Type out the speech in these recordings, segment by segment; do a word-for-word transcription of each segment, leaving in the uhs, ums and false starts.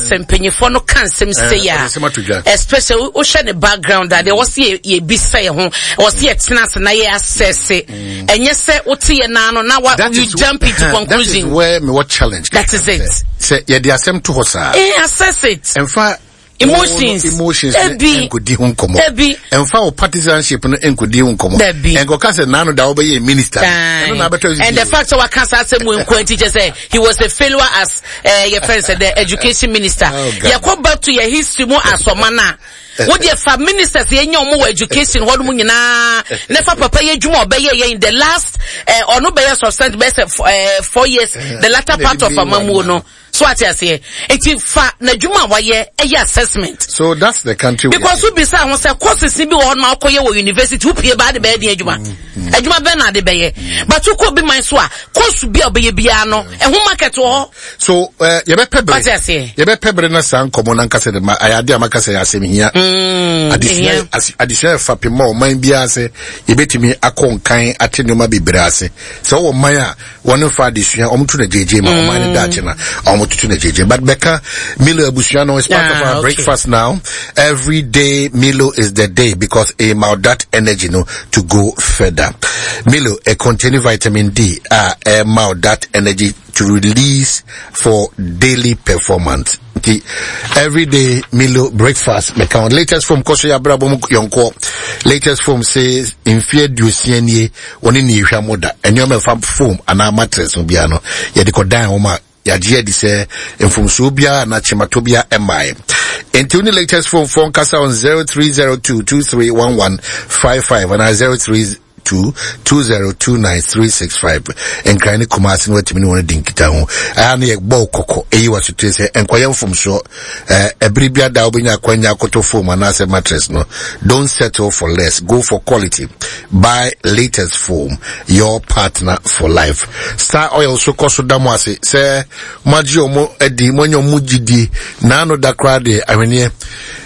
sɛ mpanyinfoɔ no ka nsɛm sɛ yɛ a, especially wohwɛ ne background a, deɛ wɔsi yɛ yɛbisa yɛ ho, wɔsi yɛ tena ase na yɛ asɛse, ɛnyɛ sɛ wote yɛ nan no na wa you jump into conclusion. That is where me what challenge. That is it. Sɛ yɛde asɛm to hɔ saa. Eh, assess it. Ɛnfa emotions emotions ebi nkodi ho nkɔmɔ. Ebi ɛnfa wo partisanship no nkodi ho nkɔmɔ. Dabi. Nkɔka sɛ nanu da wobɛyɛ minister. Ɛno na abɛtɔ. And the fact sɛ waka saa asɛm wo nko nti kyɛ sɛ he was a failure as uh, your friend said, the education minister. Oh, God. Yɛkɔ back to your history mu asɔma no a, wodeɛ fa ministers yɛnya ɔmo wɔ education hɔ nom nyinaa ne fa papa yɛ adwuma a ɔbɛyɛ yɛ in the last eh, ɔno bɛyɛ substantive bɛyɛ sɛ eh, four years, the latter part of amamuo no so, ate aseɛ? Nti fa n'adwuma a wayɛ ɛyɛ assessment. So that's the country. Because wobisa ho sɛ courses bi wɔ hɔ nom a wokɔyɛ wɔ university, wopie baa de bɛyɛ den adwuma, adwuma bɛn na ade bɛyɛ? But wokɔ bi man so a, course bi a wobɛyɛ biara no, ɛho market wɔ hɔ. So uh, yɛbɛpɛ bere Wate aseɛ? Yɛbɛpɛ bere na saa nkɔmɔ no ankasa de ma ayɛ ade a maka sɛ yɛ asɛm hia. Adesua ehia. as- adesua yɛ fapem ma ɔman biara sɛ yɛbɛtumi akɔ nkan ate nneɛma bebree ase. Sɛ wɔwɔ man a wɔne fa adesua, wɔn to na gyegye ma ɔman no daakye na wɔn toto na gyegye. But bɛka Milo abusua no is part of Ah, our okay. breakfast now. Every day Milo is the day because ɛma that energy no to go further. Milo, it containing vitamin D a ɛma that energy to release for daily performance. Nti every day Milo breakfast mɛka ho. Latest Foam kɔ so yɛ abrabɔ mu yɔnkoɔ. Latest Foam says mfeɛ aduosia nie wɔne ne ehwɛ mo da nneɛma ɛfa foam anaa mattress no biara no, yɛde kɔdan wɔn a yɛagye adi sɛ mfomsoɔ biara anaa kyemato biara ɛmmaeɛ. Nti wo ne Latest Foam foɔ nkasa on zero three zero two two three one one five five anaa zero three two two zero two nine three six five. Nkran ne Kumase no, watumi ne wɔn di nkita ho. Ɛha no yɛ bɔɔl kɔkɔ eyi wɔ sotire sɛ nkɔyɛ mfomsoɔ. Ɛɛ ɛbere bi ada wobɛnya akwanya akoto foam anaasɛ mattress no, don't settle for less, go for quality. Buy Latest Foam, your partner for life. Star Oil so kɔ so da mo ase sɛ moagye ɔmo adi, moanya ɔmo gyidie. Naano da koraa deɛ, ahweneɛ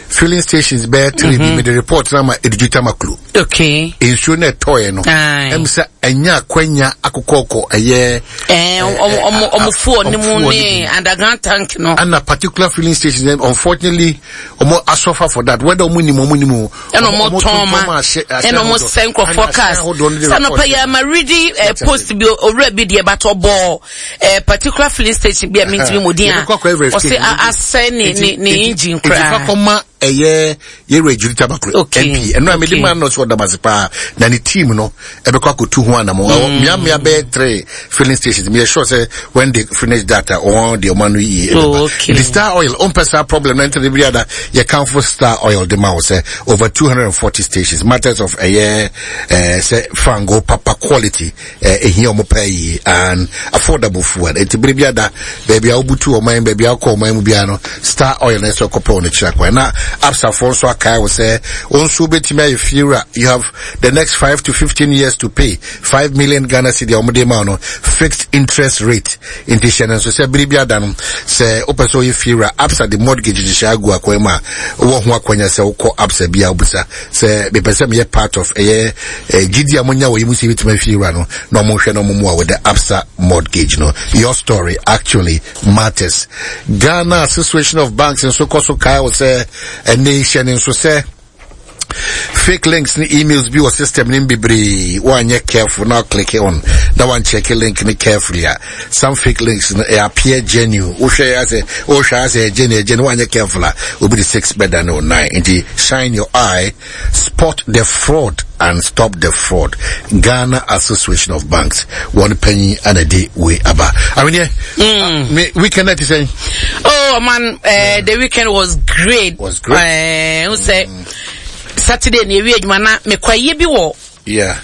filling stations bɛyɛ three bi, mede report na ma Edudzi Tamaklo. Okay nsuo no ɛtɔɔɛ no, Aye. ɛm sɛ ɛnyɛ akwanya akokɔkɔ ɛyɛ Eh, ɔmo ɔmo ɔmo fuel ne mu fuel ne underground tank no. And a particular filling station, unfortunately ɔmo asuffer for that, whether ɔmo nim, ɔmo nim o. Ɛna ɔmo tɔn ma ɛna ɔmo sɛ nkurɔfoɔ cars sɛ anɔpɛ yɛ ama redi eh, post bi, owura bi deɛ batɔ bɔɔ eh, particular filling station bi a mintimi mu din a Yɛbɛkɔ akɔ ɔsɛ a- asɛ ne ne ne engine nti fa koraa. Kɔma ɛyɛ yɛwura Edudzi Tamaklo Okay. M P ɛno a mede Okay. ma no so ɔdam ase paa na ne team no ɛbɛkɔ akɔtu ho anamo. mm. Mmeammea bɛyɛ three filling stations, meyɛ sure sɛ when they finish that a, ɔwɔn deɛ ɔma no yie. Oh, okay. The Star Oil, ɔmpɛ saa problem na nti bi ada yɛkamfo Star Oil de ma wo sɛ over two hundred forty stations, matters of ɛyɛ ɛɛ sɛ fango papa quality ɛɛ ehia ɔmo pɛ yie and affordable fuel. Nti bere bi ada, baabi a wobutu ɔman, baabi a wokɔ ɔman mu biara no, Star Oil na ɛsɛ ɔkɔpɛ wɔn akyiri akwan. Na Absafoɔ nso akae wo sɛ wɔn nso wobɛtumi ayɛ fiewura. You have the next five to fifteen years to pay five million Ghana cedi a wɔde ma wo no, fixed interest rate. Nti hyɛ no nso sɛ bere bi ada no, sɛ wopɛ sɛ ɔyɛ fiewura, Absa de mortgage hyehyɛ agu akwan mu a wowɔ ho akwanya sɛ wokɔ Absa bi a, wobisa sɛ mepɛ sɛ meyɛ part of ɛyɛ eh, gyidi a monya wɔ yi mu sɛ yɛbɛtumi afiewura no, na ɔmo hwɛ na ɔmo mu a with the Absa mortgage no, your story actually matters. Ghana Association of Banks nso kɔ so kae wo sɛ ɛne hyɛ ne nso sɛ fake links ne emails bi wɔ system ne bebree. Woanyɛ careful na click on na wancheck link ne carefully a, some fake links no ɛ appear genuine. Wohwɛ yɛ sɛ wohwɛ asɛ genuine genuine, woanyɛ careful a, obi de six bɛda ne o nine. Nti shine your eye, spot the fraud and stop the fraud. Ghana Association of Banks wɔn panyin ana de wei aba. Aweneɛ mm. me weekend na ti sɛn? Oh man, uh, the weekend was great. Was great. Uh, mm. sɛ Saturday na ewie adwuma na mekɔ ayie bi wɔ. Yeah.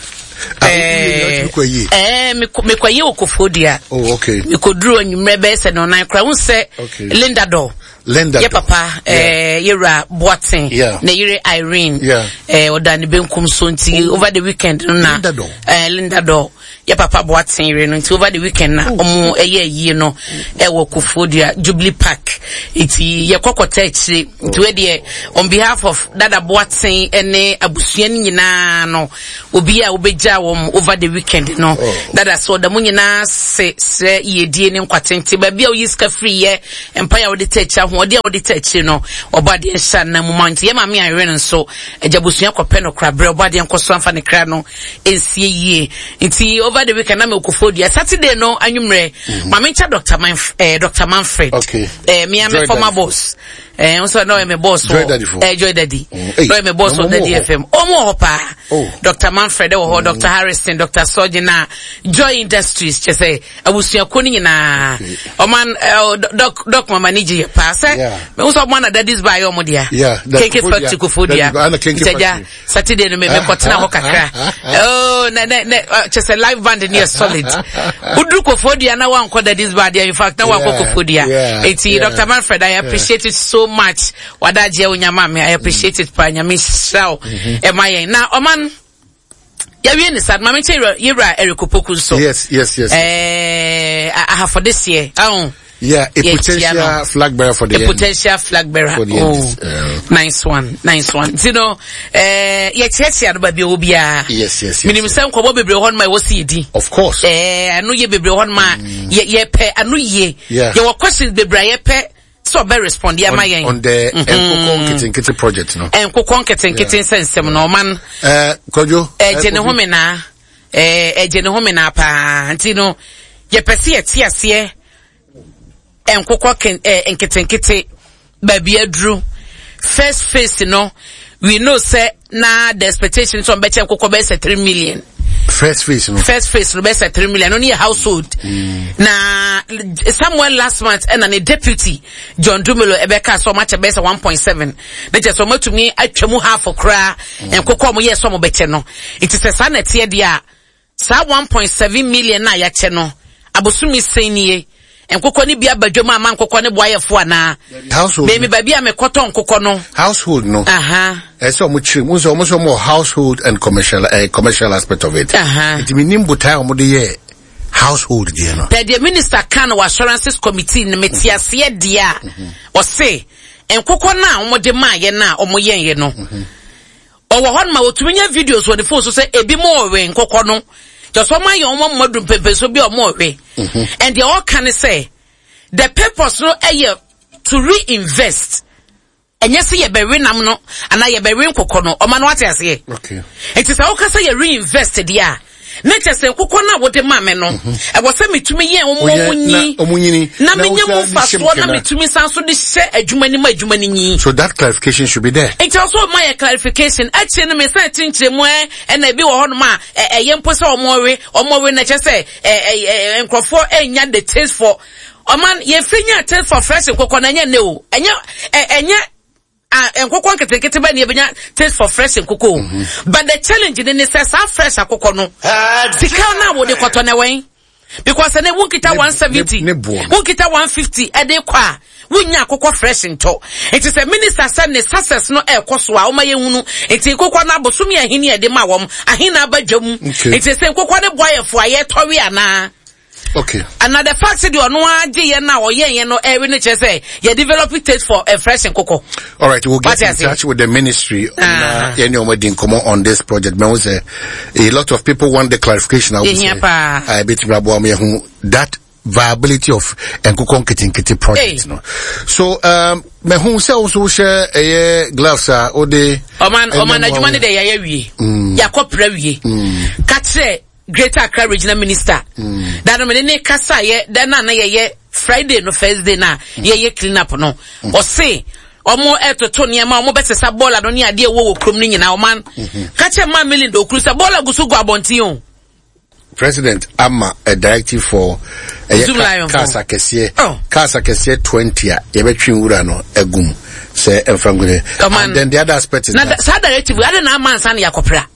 Eh, eh, mekɔ ayie wɔ Koforidua. Oh, okay. Mekɔduru anwummerɛ bɛyɛ sɛ nɔnan koraa. Wohu sɛ Okay. Linda Dɔ. Linda yɛ Dɔ. Papa eh, yɛwura Boaten. Yeah. Ne yere Irene. Yeah. Eh, ɔda ne benkum so nti over the weekend no na Linda Dɔ. Eh, Linda Dɔ. Yɛ papa Boaten yere no, nti over the weekend na ɔmo ɛyɛ ayie no ɛwɔ Koforidua Jubilee Park, nti yɛkɔ kɔta akyire. Nti wei deɛ, on behalf of Dada Boaten ɛne abusua no nyinaa no, obi a wobɛgya yɛgya wɔn over the weekend no. Oh. Dada so ɔda mu nyinaa se srɛ yiedie ne nkwatenten baabi a woyi sika firi yɛ mpaeɛ a wode ta akyi ahoɔden a wode ta akyiri no ɔbɔ adeɛ nhyɛ anan mu ma nti yɛ maame ayere no nso agya busua kɔpɛ no koraberɛ ɔbɔ adeɛ nkɔ so amfa ne kra no nsie yie. Nti over the weekend na me okofo dua Saturday no anwummerɛ mm -hmm. maame nkyɛ Doctor Manf eh, Doctor Manfred. Okay. Eh, me ame former boss. Eh, nso na ɔyɛ me boss Joy Daddy fo. Eh, Joy Daddy. Mm. Hey, Na ɔyɛ me boss na wɔ ɔmo Daddy wɔ hɔ. F M. Ɔmo wɔ hɔ paa. Oh. Doctor Manfred wɔ hɔ, Doctor Harrison, Doctor Sojina, Joy Industries, kyɛ sɛ abusuakuo no nyinaa. Okay. Ɔman eh, Doc Doc Mama ni gye yɛ paa sɛ. Yeah. Me nso ɔmo ana Daddy's bar yɛ ɔmo dea. Yeah, that Kenke Kofodia. Factory Kofodia. Daddy's Bar, ana Kenke Nti agya, Factory. Saturday no me me kɔtena hɔ kakra. Oh, na na na kyɛ sɛ live band ni yɛ solid. Uduru Kofodia na wankɔ Daddy's bar deɛ, in fact na wankɔ Yeah, Kofodia. yeah, Eti yeah. Doctor Manfred, I appreciate it so much. Wadaje onyama me, I appreciate it pa nyame hyira wo. Ɛma yɛn. Na ɔman yɛwie ne sa, maame nkyɛn yɛwura Eric Opoku nso. Yes, yes, yes. Eh, ahafo this year. Oh. Yeah, a Yeah, potential yeah, flag bearer for the a end. potential flag bearer. For the Oh, end, uh, nice one, nice one. You know, eh, yɛkyerɛkyerɛ no baabi a ɛwɔ biara. Yes, yes, yes. Menim sɛ nkɔmmɔ bebree hɔ nom a ɛwɔ sɛ yɛdi. Of course. Eh, ano yɛ bebree hɔ nom a yɛ yɛpɛ ano yie. Yeah. Yɛwɔ questions bebree a yɛpɛ sɛ ɔbɛ respond yɛ ama On, yɛn. on the Nkoko Nketenkete project, no. Nkokɔ nketenkete nsɛnsɛm no ɔman Eh, Kojo. ɛgye ne Kojo. ho menaa. Eh, ɛgye ne ho menaa paa. Nti no, yɛpɛ sɛ yɛte aseɛ nkokɔ ken eh, nketenkete baabi aduru. First phase no, we know sɛ na the expectation sɛ ɔmbɛkyɛ nkokɔ bɛyɛ sɛ three million. First phase, no. First phase no bɛyɛ sɛ three million. No ne yɛ household. Mm. Na somewhere last month ɛna ne deputy John Dumelo ɛbɛka sɛ ɔmakyɛ bɛyɛ sɛ one point seven. Ne kyɛ sɛ ɔmatumi atwa mu half koraa nkokɔ ɔmo yɛ sɛ ɔmo bɛkyɛ no. Nti sɛ saa na ɛteɛ deɛ a, saa one point seven million na yɛakyɛ no, abosomi sɛn nie. Nkokɔ ne bi aba dwam ama nkokɔ ne boayɛfo anaa. Household. Bɛmi baabi a mekɔtɔ nkokɔ no. Household, no. Aha. Ɛsɛ ɔmo kyerɛ mu sɛ ɔmo sɛ ɔmo wɔ household and commercial eh, commercial aspect of it. Aha. Nti mi nim botae a ɔmo de yɛ household deɛ no. Pɛ deɛ minister ka no wɔ assurances committee no mete aseɛ deɛ a ɔse nkokɔ no a ɔmo de maayɛ no a ɔmo yɛnyɛ no. Ɔwɔ hɔ no ma wɔtumi nya videos wɔ ne phone so sɛ ebi mo ɔwe nkokɔ no. Kyɛ sɛ ɔmo ayɛ ɔmo mma dum pɛmpɛn so bi a ɔmo ɔwe. And deɛ ɔka ne sɛ the purpose no ɛyɛ to reinvest. Ɛnyɛ sɛ yɛbɛwe nam no anaa yɛbɛwe nkokɔ no. Ɔma no wate aseɛ. Okay. Nti sɛ woka sɛ yɛ reinvest deɛ a, ne kyɛ sɛ nkokɔ no a wode ma me no, ɛwɔ sɛ metumi yɛ ɔmo Ɔyɛ ɔmo nyi. na ɔmo nyini. Na Na menyɛ wosan mu de hyɛ mu mfasoɔ na kena. metumi san so de hyɛ adwuma no mu adwuma no nyi. So that clarification should be there. Nti ɔsɛ ɔma yɛ clarification. Akyire no me sɛ kyerɛkyerɛ mu ɛ, ɛna ebi wɔ hɔnom a, ɛ, ɛyɛ mpo sɛ ɔmo ɔwe, ɔmo ɔwe na kyerɛ sɛ, ɛ, ɛ, ɛ, nkurɔfoɔ ɛnya the taste for. Ɔman, yɛfiri nya taste for fresh nkokɔ na ɛnyɛ ne o. Ɛnyɛ, ɛ, ɛnyɛ, ah, nkokɔ nketenkete bɛ ne yɛbɛnya taste for fresh nkokɔ o. Mm-hmm. But the challenge ne ne sɛ saa fresh akokɔ no, sika no a wode kɔtɔ na wɛn. Because ɛnɛ wonkita Ne- one seventy, ne- ne boɔ no. wonkita one fifty ɛde kɔ a, wonya akokɔ fresh ntɔ. Nti sɛ minister sɛ ne success no ɛkɔ so a, ɔma yɛhunu. Nti nkokɔ no abosom yɛ ahene ɛde ma wɔm, ahene aba dwam. Okay. Nti sɛ nkokɔ no boayɛfo a yɛtɔwe anaa. Okay. And the fact that you know agye yɛn na ɔyɛ yɛn no ɛwe no kyerɛ sɛ yɛ develop taste for a fresh nkokɔ. All right, we'll get What in is it? touch with the ministry. Ah. Na yɛne ɔmo di nkɔmmɔ on this project. Mɛ sɛ a lot of people want the clarification. I would Ehia say. paa. I bet you who that viability of nkokɔ nketenkete project Hey. no. So um, mɛ hu sɛ also share ɛyɛ gloves a ɔde. Ɔman ɔman ɛnam adwuma wɔn. ne de yɛayɛ wie. Yɛakɔ pra wie. Ka kyerɛ Greater Accra Regional Minister. Mm. Da no mene ne kasa yɛ da na na yɛyɛ Friday no first day na yɛyɛ clean up no. Ɔse ɔmo ɛtoto nneɛma ɔmo bɛsesa bɔɔla no ne adeɛ ɛwɔ wɔ kurom no nyinaa ɔman. Ka kyerɛ maa Melinda Okuru sɛ bɔɔla gu so gu abɔnten o. President ama a directive for ɛyɛ Zoom ka- Lion cars fo. akɛseɛ Oh. cars akɛseɛ twenty a yɛbɛtwe nwura no agum sɛ ɛmfa ngu ne. Ɔman. And then the other aspect is Na that da- saa directive ade na ama ansa na yɛakɔpra.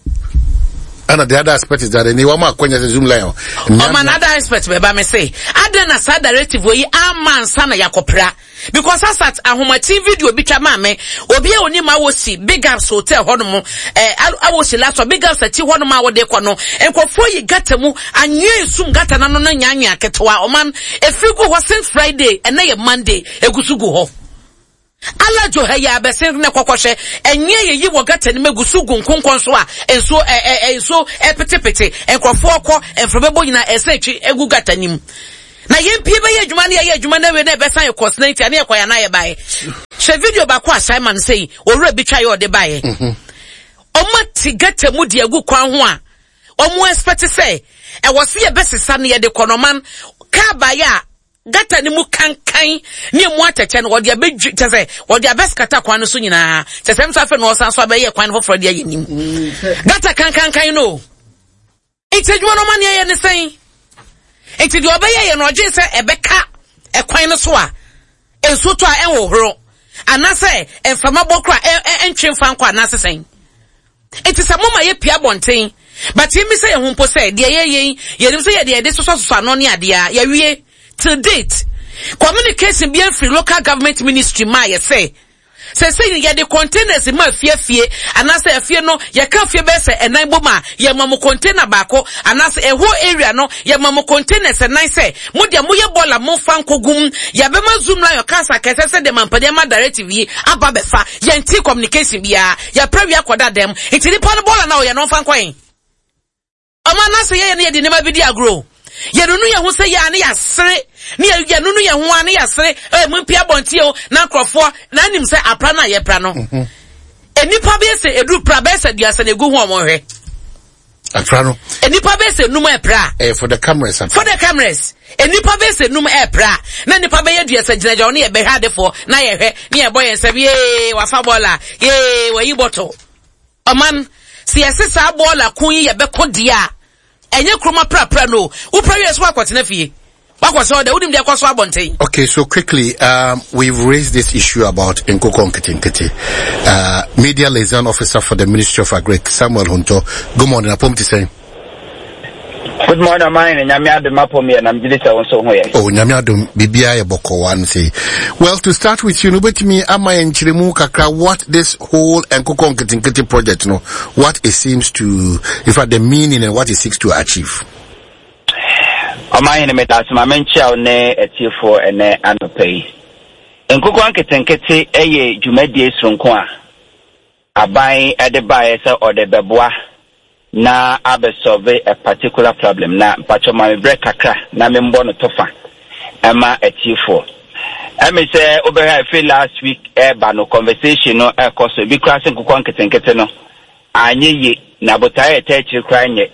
And the other aspect is that ni wɔn akonya sɛ Zoom Lion. Ɔman other aspect bɛba me se ade na saa directive yi ama ansa na yɛakɔpra. Because asat ahomakye video bi twa maa me obi a onim awosi Big Ups hotel hɔnom, eh, awosi last one, Big Ups akyi hɔnom a wɔde kɔ no, nkurɔfoɔ yi gata mu anwea esum gata n'ano no nyanwea ketewa. Ɔman efiri gu hɔ since Friday, ɛnɛ yɛ Monday, egu so gu hɔ. Alajo ha yɛ abɛsen ne kɔkɔhwɛ ɛnyɛ yɛyi wɔ gutter no mu egu so gu nkonkɔn so a nsuo ɛ ɛ nsuo ɛpetepete nkurɔfoɔ kɔ mframa bɔ nyinaa ɛsɛ etwi egu gutter no mu. Na yɛn pie bɛyɛ adwuma ne yɛyɛ adwuma no awie na ɛbɛsan yɛ kɔs na nti ne yɛkɔ yɛn anayɛ baeɛ. Hwɛ video baako a Simon sɛ yi owura bi twa yɛ ɔde baeɛ. Ɔmo ati gutter mu de agu kwan ho a ɔmo expect sɛ ɛwɔ se yɛbɛsesa no yɛde kɔ nɔman kaa baeɛ a gutter no mu kankan ne emu atɛkyɛ no wɔde abɛdwi kyɛ sɛ wɔde abɛskata kwan no so nyinaa kyɛ sɛ nso afei na ɔsan so abɛyɛ kwan no foforɔ de ayɛ nim gutter kankankan no nti adwuma no ɔma ne ɛyɛ ne sɛn nti deɛ ɔbɛyɛ yɛ no ɔgye sɛ ɛbɛka ɛkwan no so a nsuo tɔ a ɛnhohoro anaasɛ mframa bɔ kora ɛntwe mfa nkɔ anaasɛ sɛn nti sɛ moma yɛ pia abɔnten but yɛmi sɛ yɛn ho mpo sɛ deɛ yɛyɛ yi yɛnim sɛ yɛde yɛde sosɔsosɔ ano ne adeɛ a yɛwie. Till date, communication bi free local government ministry ma yɛ sɛ sɛ sɛ yɛde containers ma fie fie anaasɛ afie no yɛka fie bɛyɛ sɛ ɛnan bom a yɛma mo container baako anaasɛ ɛhɔ area no yɛma mo containers ɛnan sɛ mo deɛ moyɛ bɔɔla momfa nkɔgum yɛbɛma Zoomlion kasa kɛsɛ sɛ deɛ mampanin ama directive yi aba bɛfa yɛnti communication biara yɛpɛ wia kɔda dɛm nti nipa no bɔɔla na ɔyɛ no ɔmfa nkɔyɛn ɔmo anaasɛ yɛyɛ no yɛde nneɛma bi di agorɔ yɛnunu yɛn ho sɛ yɛ a ne yɛasere ne yɛnunu yɛn ho a ne yɛasere ɛɛ mu mpia abɔnten o na nkurɔfoɔ na anim sɛ apra no a yɛpra no nnipa bɛyɛ sɛ eduru pra bɛyɛ sɛ duasa na egu ho ɔmo hwɛ apra no nnipa bɛyɛ sɛ num ɛpra eh, for the cameras for the cameras nnipa bɛyɛ sɛ num ɛpra na nnipa bɛyɛ duasa gyinagyina hɔ ne yɛbɛhwɛ adefoɔ na yɛhwɛ ne yɛbɔ yɛn nsam yee wafa bɔɔla yee wayi bɔtɔ ɔman sɛ yɛsɛ saa bɔɔla ko yi yɛbɛko deɛ a ɛnyɛ kuroma prapra no wopra wie so akɔtena fie wakɔsɛ ɔdɛ wonim deɛ ɛkɔ so abɔnten. Okay, so quickly, um, we've raised this issue about Nkoko Nketenkete. Uh, Media Liaison Officer for the Ministry of Agric, Samuel Hunto. Good morning, apom te sɛn? Good morning, man. Nyame adom apom yɛ nam gyidi sɛ wo nso ho yɛ. Oh, Nyame adom bibia yɛ bɔkɔ one say. Well, to start with you, no betumi ama yɛn nkyerɛmu kakra what this whole Nkoko Nketenkete project no, what it seems to, in fact, the meaning and what it seeks to achieve. Ɔman hene meda ase ma menkyia wo ne atiefoɔ ɛnɛ anɔpa yi. Nkokɔ nketenkete yɛ dwumadie soronko a aban de baeɛ sɛ ɔde bɛboa na abɛsolve a particular problem na mpatwɔ ma me berɛ kakra na membɔ no tɔfa ɛma atiefoɔ. Ɛmi sɛ wobɛhwɛ afi last week ɛɛba no conversation no ɛkɔ so ebi koraa sɛ nkokɔ nketenkete no anyɛ yie na botaeɛ ɛtɛ akyire koraa nyɛ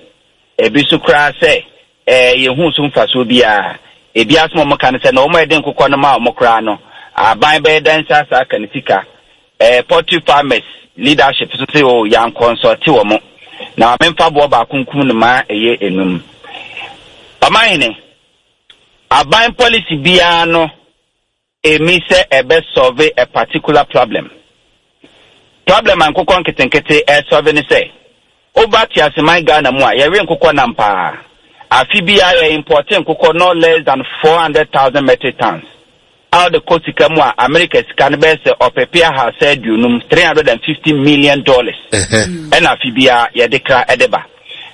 ebi so koraa sɛ ɛɛ yɛhu so mfasoɔ biara ebi asoma ɔmo ka no sɛ na ɔmo ɛde nkokɔ no ma ɔmo koraa no aban bɛyɛ dan nsa asa aka ne sika ɛɛ poultry farmers leadership so sɛ o yɛn consult wɔ mo na maame nfa boɔ baako nkum no ma ɛyɛ enum. Ɔman aban policy biara no emi sɛ ɛbɛ solve a particular problem. Problem a nkokɔ nketenkete ɛsolve ne sɛ woba teaseman Ghana mu a yɛwe nkokɔ nam paa. Afi biara yɛ import nkokɔ no less than four hundred thousand metric tons. A wɔde kɔ sika mu a America sika no bɛyɛ sɛ ɔpepe ahasa aduonum three hundred and fifty million dollars. Ɛna afi biara yɛde kra ɛde ba.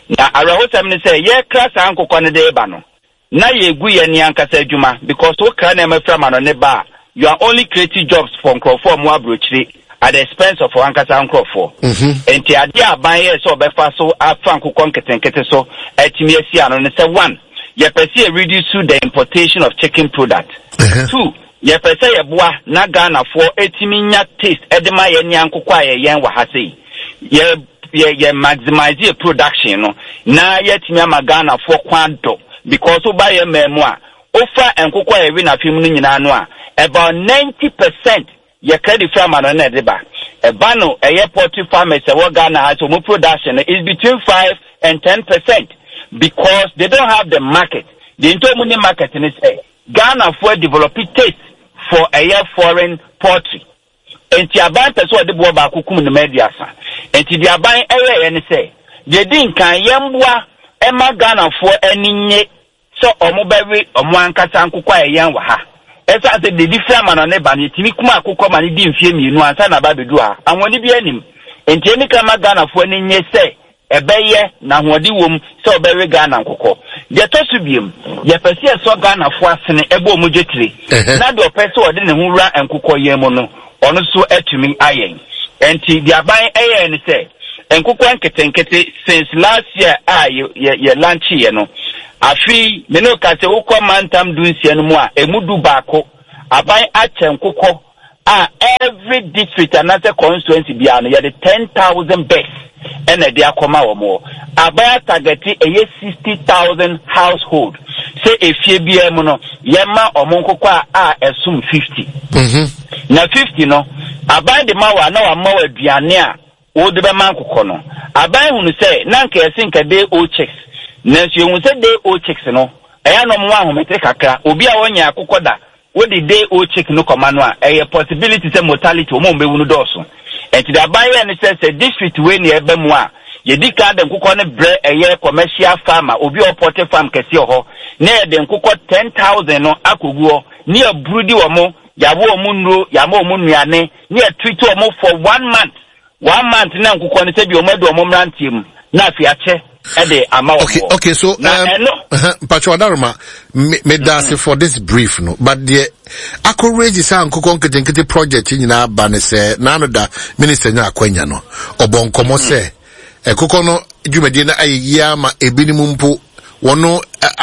Na awerɛhosɛm ne sɛ yɛkra saa nkokɔ no de ba no na yɛgu yɛn ni ankasa adwuma because wokra nneɛma fira ma no ne ba a you are only creating jobs for nkurɔfoɔ a wɔn aburokyire at the expense of wɔn ankasa nkurɔfoɔ. Nti adeɛ a aban yɛ sɛ ɔbɛfa so afa nkokɔ nketenkete so atumi asi ano no sɛ one yɛpɛ sɛ yɛ reduce the importation of chicken product. Two yɛpɛ sɛ yɛboa na Ghanafoɔ etumi nya taste ɛde ma yɛn ni ankokɔ a yɛyɛn wɔ ha sei yɛ yɛ yɛ maximize yɛ production no na yɛtumi ama Ghanafoɔ kwan dɔ because woba yɛ mmaa mu a wofa nkokɔ a yɛwe n'afem no nyinaa no a about ninety percent yɛ credit fira ma no na ɛde ba ɛba no ɛyɛ poultry farmers ɛwɔ Ghana ha so ɔmo production no is between five and ten percent because they don't have the market. The nti ɔmo ne market ne sɛ Ghanafoɔ develop taste for ɛyɛ foreign poultry. Nti aban pɛ sɛ ɔde boɔ baako kum ne ma aduasa. Nti deɛ aban ɛyɛɛyɛ ne sɛ deɛ di nkan yɛmboa ɛma Ghanafoɔ ani nye sɛ ɔmo bɛwe ɔmo ankasa nkokɔ a ɛyɛn wɔ ha. Ɛsan sɛ dedi fira ma no ne ba no yɛtumi kum akokɔ ma no di mfie mmienu ansa na aba abɛdu ha. Ahoɔden bi anim. Nti ɛni kan ma Ghanafoɔ ani nye sɛ ɛbɛyɛ na ahoɔden wɔ mu sɛ ɔbɛwe Ghana nkokɔ. Deɛ ɛtɔ so biem, yɛpɛ sɛ yɛsɔ Ghanafoɔ asene ɛbɔ ɔmo dwetire. Na deɛ ɔpɛ sɛ ɔde ne ho wura nkokɔ yɛn mu no, Ɔno nso atumi ayɛn. Nti deɛ aban ɛyɛ ne sɛ nkokɔ nketenkete, since last year a yɛ yɛ yɛ launch yɛ no, afi me ne ka sɛ wokɔ mantam du nsia no mu a, emu du baako aban akyɛ nkokɔ a every district anaasɛ constituency biara no, yɛde ten thousand birds ɛna ɛde akɔma wɔn. Wɔ aban atarget ɛyɛ sixty thousand household sɛ efie biara mu no, yɛma wɔn nkokɔ a a ɛsom fifty. Na fifty no, aban de ma wa na wama wɔ aduane a wɔde bɛma nkokɔ no. Aban hunu sɛ na nka yɛse nka day old chicks, nanso yɛhu sɛ day old chicks no ɛyɛ na ɔmo ahomete kakra. Obi a wɔnyɛ akokɔ da, wode day old chick no kɔma no a, ɛyɛ possibility sɛ mortality, wɔn a wɔbɛwu no dɔɔso. Nti de aban yɛ ne sɛ sɛ district wei ne ɛbɛ mu a, yɛdi kan de nkokɔ no brɛ ɛyɛ commercial farmer, obi a ɔpoultry farm kɛseɛ wɔ hɔ, na yɛde nkokɔ ten thousand no akɔgu hɔ ne yɛburu di wɔn, yɛabɔ wɔn nnuro, yɛama wɔn nnuane, ne yɛtreat wɔn for one month. One month na nkokɔ no sɛ bi wɔn adu wɔn mmeranteɛ mu na afei akyɛ ɛde ama wɔn. okay okay so na um, ɛno Mpatwa Ɔdaroma, me me da ase for this brief no, but deɛ akɔ raise saa nkokɔ nketenkete project yi nyinaa ba ne sɛ n'ano da minister nya akwanya no, ɔbɔ nkɔmɔ sɛ ɛkokɔ no dwumadie no ayɛ yie ama ebinom mpo wɔn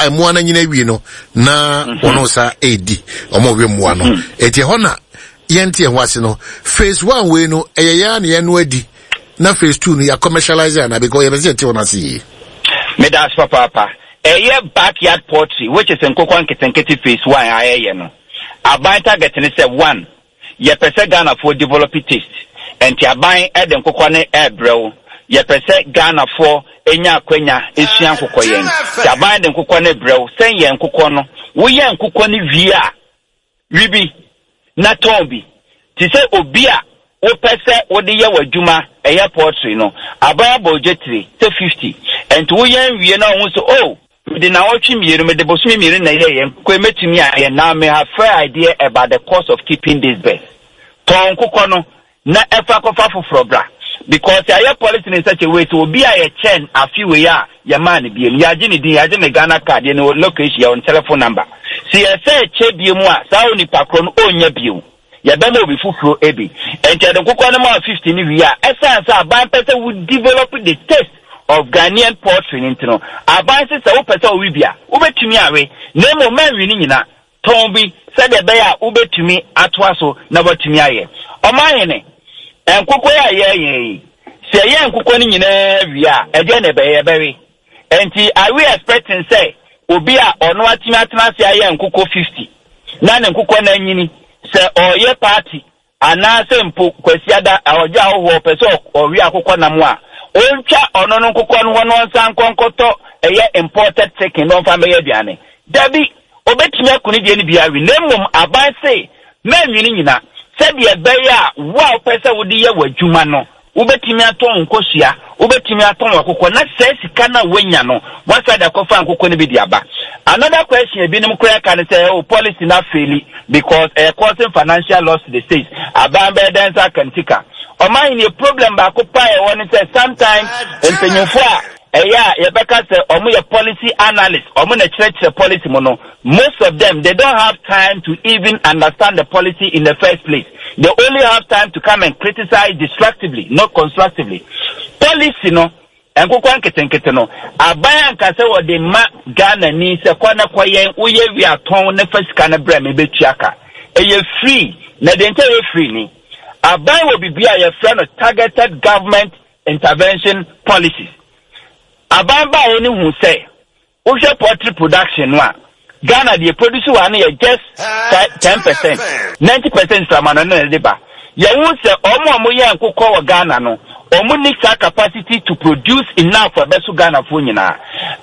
mmoa no nyina awie no na wɔn nsa edi wɔn a wɔwe mmoa no. Eti ɛhɔ na yɛnte ɛho ase no. Phase one wei no, ɛyɛ yɛn a na yɛn no adi, na phase two no yɛ commercialize ana? Because yɛbɛ sɛ yɛte wɔn ase yie. Meda ase papaapa. Ɛyɛ backyard poultry, which is nkokɔ nketenkete, phase one a ɛyɛ no, aban target ne sɛ, one, yɛpɛ sɛ Ghanafoɔ develop taste, nti aban ɛde nkokɔ ne ɛɛbrɛ wo. Yɛpɛ sɛ Ghanafoɔ enya akwanya esua nkokɔ yɛn, nti aban de nkokɔ ne brɛ wo sɛn yɛn nkokɔ no. Woyɛ nkokɔ no wie a, wi bi na tɔn bi te sɛ obi a wopɛ sɛ wode yɛ w'adwuma ɛyɛ poultry no. Aban abɔ ogye tire sɛ fifty, nti woyɛ nwie na ɔho sɛ, oh, mede nawɔtwe mmienu, mede bosome mmienu na ɛyɛ yɛn nkokɔ yi, mɛtumi ayɛ. Now me have fair idea about the cost of keeping this bird. Tɔn nkokɔ no na ɛfa kɔfa foforɔ bra, because yɛayɛ policy in such a way sɛ obi a yɛkyɛn afi wei a yɛmaa no bie no, yɛagye ne din, yɛagye ne Ghana Card, yɛ ne location, yɛwɔ ne telephone number. Sɛ yɛsɛ kyɛ bie mu a, saa onipa korɔ no ɔnnya bio, yɛbɛma obi foforɔ ebi. Nti yɛde nkokɔ no ma fifty no wie a, ɛsan sɛ aban pɛ sɛ wo develop the taste of Ghanaian poultry no, nti no aban sɛ sɛ wopɛ sɛ wowe bi a, wobɛtumi awe, na mmom manwi no nyina, tɔn bi sɛdeɛ ɛbɛyɛ a wobɛtumi atoa so na watumi ayɛ. Ɔmanhene, nkokɔ yi a yɛyɛ yi, sɛ yɛyɛ nkokɔ no nyinaa wie a, ɛdeɛ na ɛbɛyɛ yɛbɛwe. Nti are we expecting sɛ obi a ɔno atumi atena ase ayɛ nkokɔ fifty na ne nkokɔ no anyini, sɛ ɔyɛ party anaasɛ mpo Kwasiada ɔgye ahohoɔ pɛ sɛ ɔwe akokɔ nam a, ɔntwa ɔno no nkokɔ no hɔ no, ɔnsan nkɔ nkɔtɔ ɛyɛ imported chicken na ɔmfa mbɛyɛ aduane? Dabi, obɛtumi ako ne deɛ no bi awe, na mmom aban se mɛnwene nyina sɛdeɛ ɛbɛyɛ a wo a wopɛ sɛ wode yɛ w'adwuma no, wobɛtumi atɔn nkosua, wobɛtumi atɔn akokɔ, na sɛ sika no a woanya no, wasa de akɔfa nkokɔ no bi de aba. Another question ebinom koraa ka ne sɛ, oh, policy na fail because ɛyɛ causing financial loss to the state. Aban bɛyɛ dɛn nsa aka ne sika? Ɔman ne problem baako pa ɛwɔ ne sɛ sometimes mpanyinfoɔ a ɛyɛ a yɛbɛka sɛ ɔmo yɛ policy analyst, ɔmo na kyerɛkyerɛ policy mu no, most of them, they don't have time to even understand the policy in the first place. They only have time to come and criticize destructively, not constructively. Policy no, nkokɔ nketenkete no, aban anka sɛ wɔde ma Ghana ni sɛ kɔ na kɔyɛn, woyɛ wi atɔn ne fa sika no brɛ me bɛtua ka. Ɛyɛ free, na deɛ nkyɛn ɛyɛ free ni, aban wɔ biribi a yɛfrɛ no targeted government intervention policies. Aban baeɛ no hu sɛ wohwɛ poultry production no a, Ghana deɛ produce wɔ ano yɛ just ten percent, ninety percent framano no na ɛde ba. Yɛhu sɛ ɔmo a ɔmo yɛ nkokɔ wɔ Ghana no, ɔmo ni saa capacity to produce enough for ɛbɛso Ghanafoɔ nyinaa.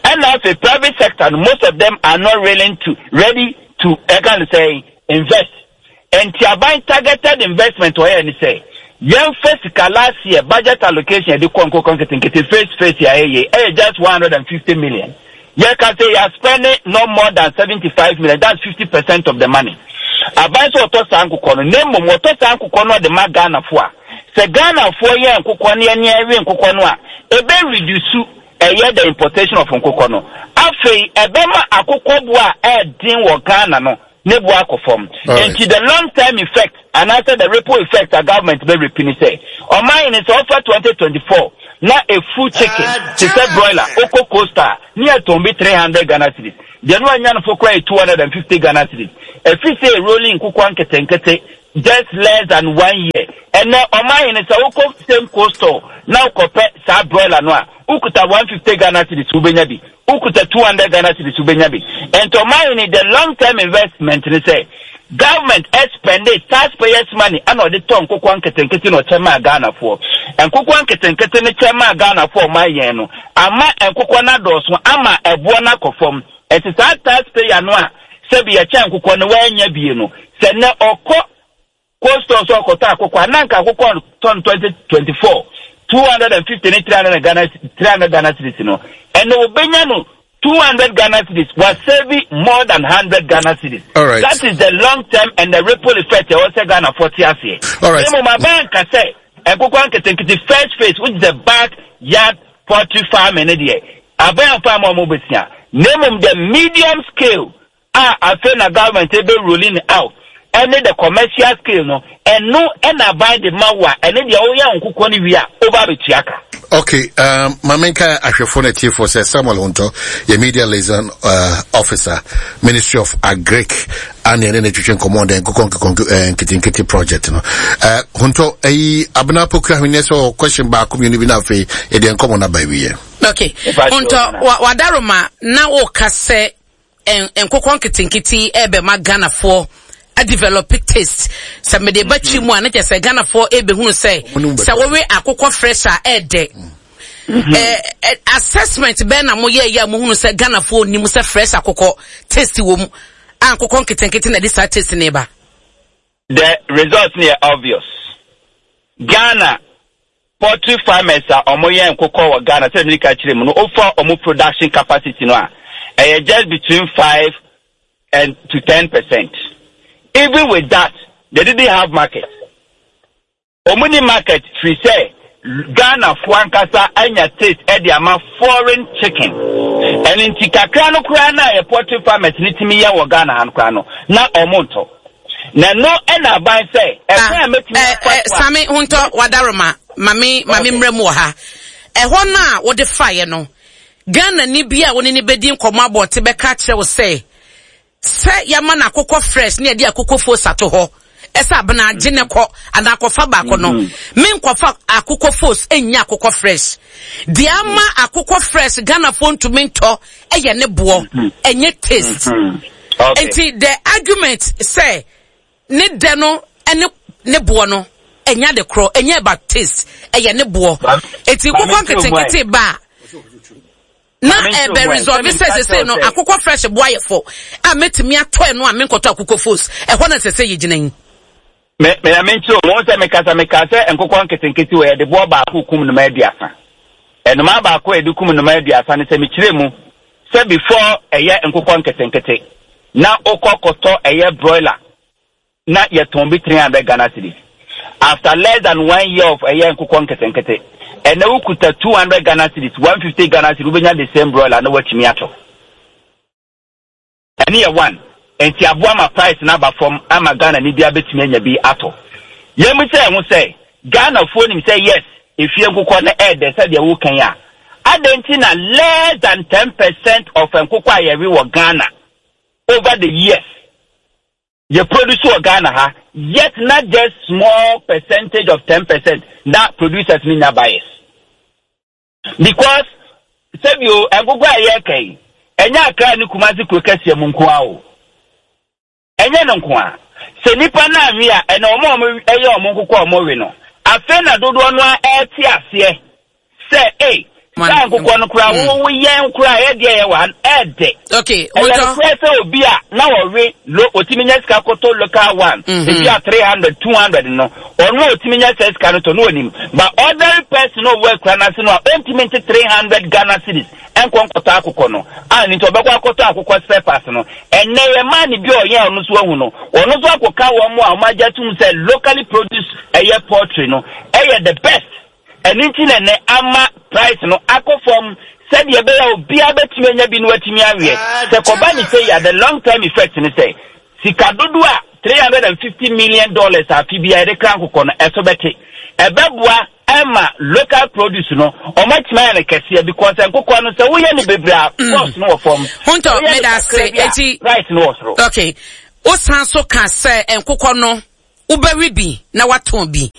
Ɛna afei private sector no, most of them are not willing to, ready to, ɛka no sɛ, invest. Nti aban targeted investment ɔyɛ ne sɛ yɛmfa sika. Last year budget allocation yɛde kɔ nkokɔ nketenkete phase phase a ɛyɛ ɛyɛ just one hundred and fifty million. Yɛka sɛ yɛ spending no more than seventy five million, that's fifty percent of the money. Aban sɛ ɔtɔ saa nkokɔ no, na mmom wɔtɔ saa nkokɔ no, ɔde ma Ghanafoɔ a, sɛ Ghanafoɔ yɛ nkokɔ no, yɛne ɛwe nkokɔ no a, ebe reduce ɛyɛ the importation of nkokɔ no. Afei ɛbɛma akokɔboa a ɛɛden wɔ Ghana no. Ne bo akɔ fam. Nti the long term effect anaasɛ the ripple effect a government bɛ reap ne sɛ, ɔman ne sɛ ɔfa twenty twenty four na efu chicken te sɛ broiler, okɔ Coastal ne yɛtɔn bi three hundred Ghana cedis, deɛ no anya no fo koraa yɛ two hundred and fifty Ghana cedis. Efi sɛ rolling nkokɔ nketenkete just less than one year, ɛnɛ ɔman ne sɛ wokɔ same Coastal na wokɔpɛ saa broiler no a, wokuta one fifty Ghana cedis, wobɛnya bi. Wokuta two hundred Ghana cedis, wobɛnya bi. Nti ɔman ne the long term investment ne sɛ government expend taxpayers money ɛna ɔde tɔ nkokɔ nketenkete na ɔkyɛ maa Ghanafoɔ. Nkokɔ nketenkete ne kyɛ maa Ghanafoɔ, ɔman yɛn no ama nkokɔ no adɔɔso ama ɛboɔ no akɔ fam. Ɛnti saa taxpayer no a sɛbi yɛkyɛ nkokɔ no wɔanya bie no, sɛ nnɛ ɔkɔ Coastal sɛ ɔkɔtɔ akokɔ a, na nka akokɔ tɔn twenty twenty four two hundred and fifty ne three hundred Ghana three hundred Ghana cedis no, ɛnna obenya no two hundred Ghana cedis, was saving more than hundred Ghana cedis. All right. That is the long term and the ripple effect ɛwɔ sɛ Ghana foɔ te aseɛ. All right. Emu ma ban ka sɛ nkokɔ nketenkete first phase, which is the backyard poultry farming ne deɛ, aban farm a wɔn bɛsia. Na emom the medium scale a afei na government ebe rolling out ɛne the commercial scale no, ɛno ɛna aban de ma wa, ɛne deɛ ɔyɛ nkokɔ no wie a, ɔba abɛtua ka. Okay, um, Mamenka ahwɛfo no atiefoɔ sɛ Samuel Honto yɛ media liaison uh, officer, Ministry of Agric, ane ɛne ne twetwe nkɔmmɔ dɛ nkokɔ nkekɔ eh, nketenkete project no. uh, Honto, ɛyi Abena Pokua Hweneɛ sɛ ɔwɔ question baako mmienu bi, na afei yɛde nkɔmmɔ no aba awieɛ. Okay, Ntɔ wadaroma na woka sɛ nkokɔ nketenkete ɛbɛma Ghanafoɔ adevelop taste. Sɛ mede ba kyi mu a, ne kyɛ sɛ Ghanafoɔ ɛbɛhunu sɛ sɛ wɔwe akokɔ fresh a, ɛɛdɛ. eh, assessment bɛn na moyɛ yɛ a mohunu sɛ Ghanafoɔ nim sɛ fresh akokɔ taste wɔ mu a, nkokɔ nketenkete na ɛde saa taste ne ba? The result no yɛ obvious. Ghana poultry farmers a ɔmo yɛ nkokɔ wɔ Ghana, sɛ mirika kyerɛ mu no, ofa ɔmo production capacity no a, ɛyɛ just between five and to ten percent. Even with that, they didn't have market. Ɔmo ni market firi sɛ Ghana fo ankasa anya taste ɛde ama foreign chicken. Ɛno nti kakra no koraa na yɛ poultry farmers ne timi yɛ wɔ Ghana ha no koraa no, na ɔmo ntɔ. Na no ɛna aban sɛ ɛkwan a mɛtumi afa so a. Sami Huntɔ, wadaroma, mame mame mmerɛ mu wɔ ha. Ɛhɔ no a wode faeɛ no, Ghana ni bi a wone ne bɛdi nkɔmmɔ abɔnte bɛka kyerɛ wo sɛ sɛ yɛama no akokɔ fresh ne yɛde akokɔ fos ato hɔ, ɛsɛ Abena agye ne kɔ anaa akɔfa baako no, menkɔfa akokɔ fos ɛnya akokɔ fresh. Deɛ ama akokɔ fresh Ghanafoɔ ntumi ntɔ ɛyɛ ne boɔ, ɛnyɛ taste. Okay. Nti the argument sɛ ne dɛ no ɛne ne boɔ no ɛnya de korɔ, ɛnyɛ about taste, ɛyɛ ne boɔ. Eti nkokɔ nketenkete ba a, na ɛbɛ resolve sɛ sese no akokɔ fresh boa yɛ fo a, mɛtumi atɔ ɛno a menkɔtɔ akokɔ fos. Ɛhɔ na sɛ sɛ yɛgyina yi. Me me me nkyerɛ wɔn sɛ mekasa meka sɛ nkokɔ nketenkete wɔ yɛde boɔ baako kum nnoma aduasa. Nnoma baako a yɛde kum nnoma aduasa no, sɛ mekyerɛ mu sɛ before ɛyɛ nkokɔ nketenkete na wokɔ kɔtɔ ɛyɛ broiler na yɛtɔn bi three hundred Ghana cedis, after less than one year of ɛyɛ nkokɔ nketenkete, ɛnɛ wokuta two hundred Ghana cedis, one fifty Ghana cedis, wobɛnya the same broiler na watumi atɔ. Ɛne yɛ one. Nti aboa ma price no aba fam ama Ghana ni bi abɛtumi anya bi atɔ. Yɛn mu sɛ ɛho sɛ Ghanafoɔ nim sɛ yes, efie nkokɔ no ɛɛdɛ sɛdeɛ wokan a, adɛn nti na less than ten percent of nkokɔ a yɛwe wɔ Ghana over the years yɛ produce wɔ Ghana ha, yet not just small percentage of ten percent na producers ni nya buyers? Because sɛbio nkokɔ a yɛreka yi, ɛnyɛ Akra ne Kumasi kuro kɛseɛ mu nko ara o, ɛnyɛ no nko a. Sɛ nipa no anwe a, ɛna ɔmo a ɔmo ɛyɛ ɔmo nkokɔ a ɔmo we no, afei na dodoɔ no a ɛte aseɛ sɛ ee, saa nkokɔ no koraa wo yɛn koraa ɛyɛ deɛ yɛ wɔ ha ɛɛdɛ. Okay ɛyɛ nokorɛ sɛ obi a na ɔwe lo otumi nya sika kɔtɔ local one, ebi a three hundred two hundred no, ɔno a otumi nya sɛ sika no tɔ no onim, but ordinary person a ɔwɔ akura n'ase no a ɔntumi nte three hundred Ghana cedis ɛnkɔ nkɔtɔ akokɔ no a ne nti ɔbɛkɔ akɔtɔ akokɔ spare parts no. Ɛnɛ yɛ maa ne bi a ɔyɛn ɔno nso ahu no, ɔno nso akɔka wɔn a wɔn agye atum sɛ locally produced ɛyɛ poultry no ɛyɛ the best. Ɛno nti na ɛnɛ ama price no akɔ fam sɛdeɛ ɛbɛyɛ a obiara bɛtumi anya bi no watumi aweɛ. Sɛ kɔba ne sɛ yɛ the long term effect ne sɛ Sika dodo a three hundred and fifty million dollars afi bi a yɛde kra nkokɔ no ɛso bɛte. Ɛbɛboa ɛma local produce no ɔmo atumi ayɛ no kɛseɛ, because nkokɔ no, sɛ woyɛ no bebree a, cost no wɔ fam. Huntɔ. Woyɛ no meda ase. kakra bi a, Eti price no wɔ soro. Okay, wosan so ka sɛ nkokɔ no, wobɛwe bi na watɔn bi.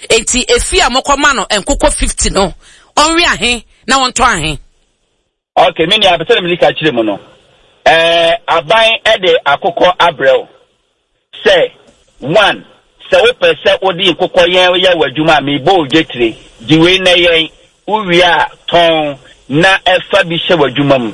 Enti efi a mokɔma no nkokɔ fifty no, ɔnwe ahe na wɔntɔ ahe? Okay, me nua, apɛ sɛ mede ka kyerɛ mu no, ɛɛ aban ɛde akokɔ abrɛ wo sɛ one, sɛ wopɛ sɛ wode nkokɔ yɛn yɛ w'adwuma a, mebɔ wo dwetire gye wei na yɛn wowie a, tɔn na ɛfa bi hyɛ w'adwuma mu.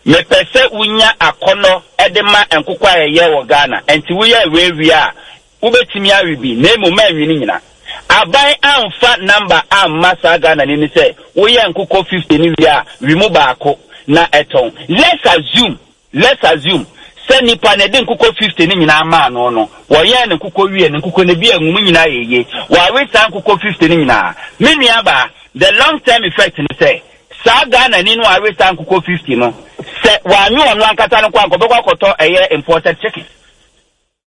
Mepɛ sɛ wonya akɔnɔ ɛde ma nkokɔ a ɛyɛ wɔ Ghana, nti woyɛ wei wie a, wobɛtumi awe bi na emu ma nwi no nyina. Aban amfa number amma saa Ghana ni ni sɛ woyɛ nkokɔ fifty ni wie a, wi mu baako na ɛtɔn. let's assume let's assume sɛ nipa na ɛde nkokɔ fifty ne nyinaa maa no no wɔyɛɛ ne nkokɔ wie ne nkokɔ no bi a ngu mu nyinaa yɛ yie, wɔawe saa nkokɔ fifty ne nyinaa. Me nua baa, the long term effect ne sɛ saa Ghana ni no awe saa nkokɔ fifty no, sɛ wɔanwe ɔno ankasa no kɔ ankɔ bɛkɔ akɔtɔ ɛyɛ imported chicken